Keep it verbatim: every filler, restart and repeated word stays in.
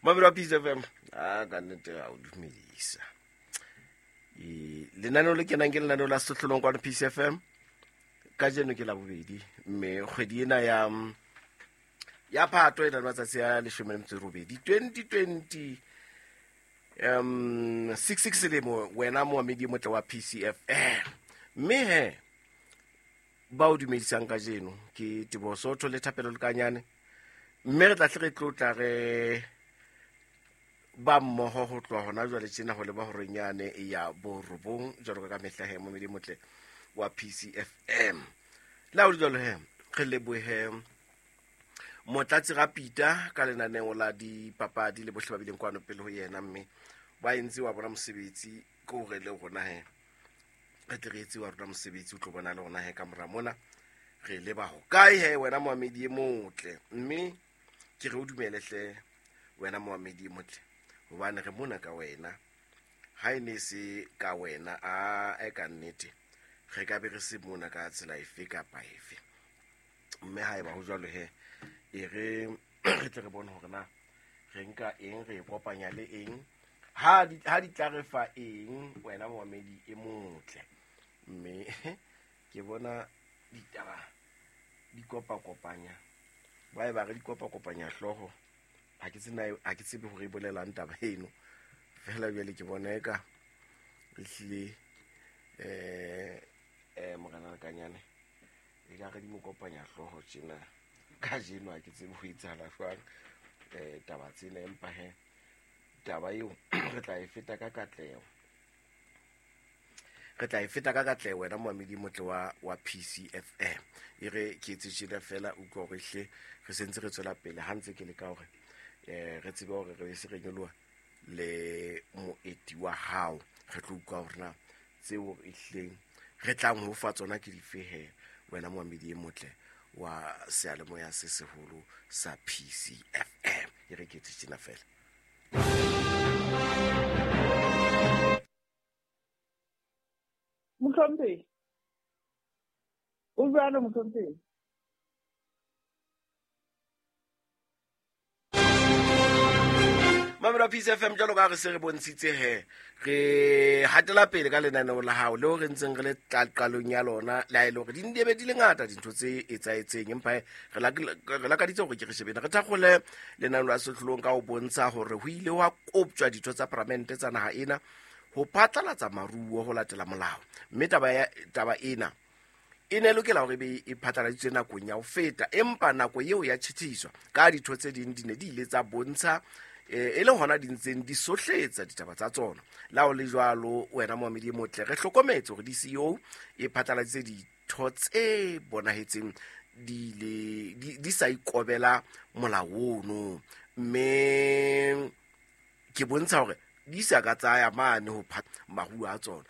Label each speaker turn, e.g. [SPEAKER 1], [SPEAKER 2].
[SPEAKER 1] Mamelo wa Peace F M, a ka nnete a o dumedisa. E, lenaneo le kenang ke lenaneo la Sehlohlolong kwano Peace F M. Kajeno ke la bobedi, mme kgwedi ena ya, ya Phato e na le matsatsi a leshome le metso e robedi, twenty twenty, um, six six selemo, wena moamedi e motle wa P C F M. Mme he, ba o dumedisang kajeno ke Teboho Sotho le Thapelo Lekanyane. Mme re tla hle re tlotla re ba mmoho ho tloha hona jwale tjena ho leba horeng yane ya borobong, jwalo ka mehla he, moamedi e motle wa P C F M. Le ha ho le jwalo he, re lebohe Motlatsi Rapita ka lenaneo la dipapadi le bohle ba bileng kwano pele ho yena, mme ba entse wa bona mosebetsi ke hore le rona he re tle re etse wa rona mosebetsi, o tlo bona le rona he ka mora mona re leba ho kae he wena moamedi e motle. Mme ke re o dumele hle wena moamedi e motle, hobane re mona ka wena. Ha e ne se ka wena, a e ka nnete re ka be re se mona ka tsela efe kapa efe. Mme ha eba ho jwalo he, e re re tle re bone hore na re nka eng, re e kopanya le eng, ha di, ha di tla re fa eng wena moamedi e motle. Mme ke bona ditaba di kopakopanya, ba e ba re di kopakopanya hlooho. Ha ke tsena, ha ke tsebe hore e bolelang taba eno. Feela jwale ke bona eka ehlile, eh, eh, Morena Lekanyane, e ka re di mo kopanya hlooho tjena kajeno. Ha ke tsebe ho etsahala jwang, eh, taba tsena, empa he taba eo re tla e feta ka katleho. Re tla e feta ka katleho wena moamedi motle wa, wa P C F M. E re ke etse tjena feela, utlwa hore hle re sentse re tswela pele ha ntse ke leka hore, eh, re tsebe hore re se re nyoloha le moeti wa hao. Re tlo utlwa hore na tseo ehlileng re tlang ho fa tsona ke dife he wena moamedi e motle wa seyalemoya se seholo sa P C F M. E re ke etse tjena feela.
[SPEAKER 2] Mohlomphehi. O jwalo mohlomphehi.
[SPEAKER 1] Mamelo P C F M, jwalo ka re se re bontshitse he, re hatela pele ka lenaneo la hao leo re ntseng re le qalong ya lona, le ha e le hore di ndebe di le ngata dintho tse etsahetseng, empa he, re lak-, re lakaditse hore ke re shebeng. Re thakgole lenaneo la Sehlohlolong ka ho bontsha hore ho ile hwa koptjwa ditho tsa palamente tsa naha ena ho phatlalatsa maruo ho latela molao. Mme taba ya, taba ena e ne e lokela hore e be e phatlaladitswe nakong ya ho feta, empa nako eo ya tjhetjhiswa ka ditho tse ding di ne di ile tsa bontsha, eh, e le hona di ntseng di sohletsa ditaba tsa tsona. Le ha ho le jwalo, wena moamedi e motle, re hlokometse hore D C O e phatlaladitse ditho tse bonahetseng di le, di, di sa ikobela molao ono. Mme ke bontsha hore di sa ka tsaya mane ho phat-, maruo a tsona.